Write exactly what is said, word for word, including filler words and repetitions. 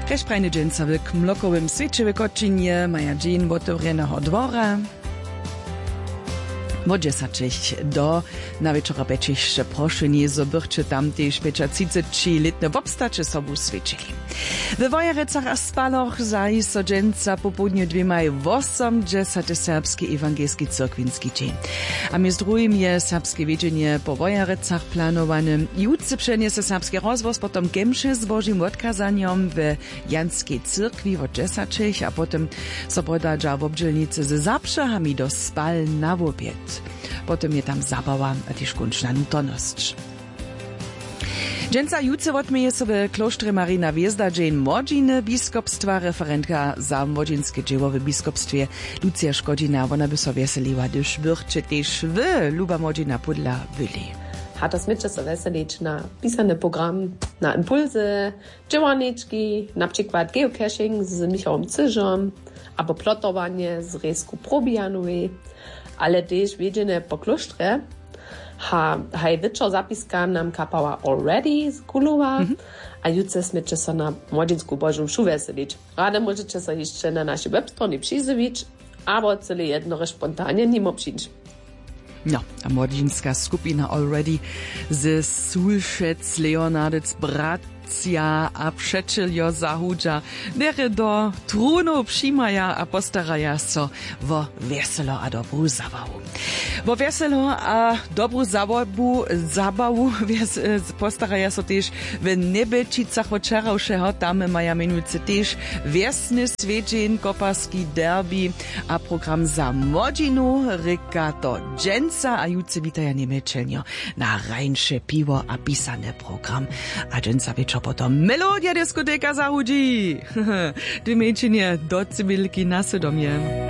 Kaž prajny dźensa w kmlokowym swěće w kočinje maja dźeń wotewrjeneho dwora. Wot dźesaćich do na wječora pjećich sće prošeni zo bychće tam tež pjećatřiceći lětne wobstaće sobu swěćili. We wojerecach a spaloch zaji so dźensa popołdnje dwěmaj wosomdźesate serbski ewangelski cyrkwinski dźeń. A mjez druhim je serbske wjedźenje po wojerecach planowane. Jutře přenjese serbski rozhłos potom kemše z božim wotkazanjom we janskej cyrkwi wot dźesaćich a potom so podadźa wobdźělnicy ze zapřehami do spal na wobjed. Potom je tam zabawa a tež kónčna nutonosć. Dźensa jutře wotměje so w klóštrje marina hwězda dźeń młodźiny biskopstwa referentka za młodźinske dźěło w biskopstwje, lucija škodźina wona by so wjeseliła hdyž bychće tež wy luba młodźina pódla byli. A to směće so wjeselić na pisany program, na impulsy, dźěłarnički, na přikład geocaching z michałom cyžom, abo plotowanje z rejsku probijanowej, ale tež wjedźenje po klóštrje. Ha, haj wječor zapiska nam kapała already z kulowa. A jutře směće so na młodźinsku božu mšu wjeselić. Rady móžeće so hišće na našej webstronje přizjewić, abo cyle jednory spontanje nimo přińć. No, a młodźinska skupina already ze sulšec leonardec bratřa a přećeljo zahudźa, derje do trunow přimaja a postaraja so wo wjeselo a dobru zabawu. Wo wjeselo a dobru zabawu zabawu postaraja so tež w njebelčicach wot wčerawšeho. Tam maja měnujcy tež wjesny swjedźeń koparski derbi a program za młodźinu rěka to. Dźensa a jutře witaja njemjelčelnjo na rańše piwo a pisany program. A dźensa wječor potom melodija diskoteka zahudźi. Dwě mjeńšinje do cibilki na sydomje.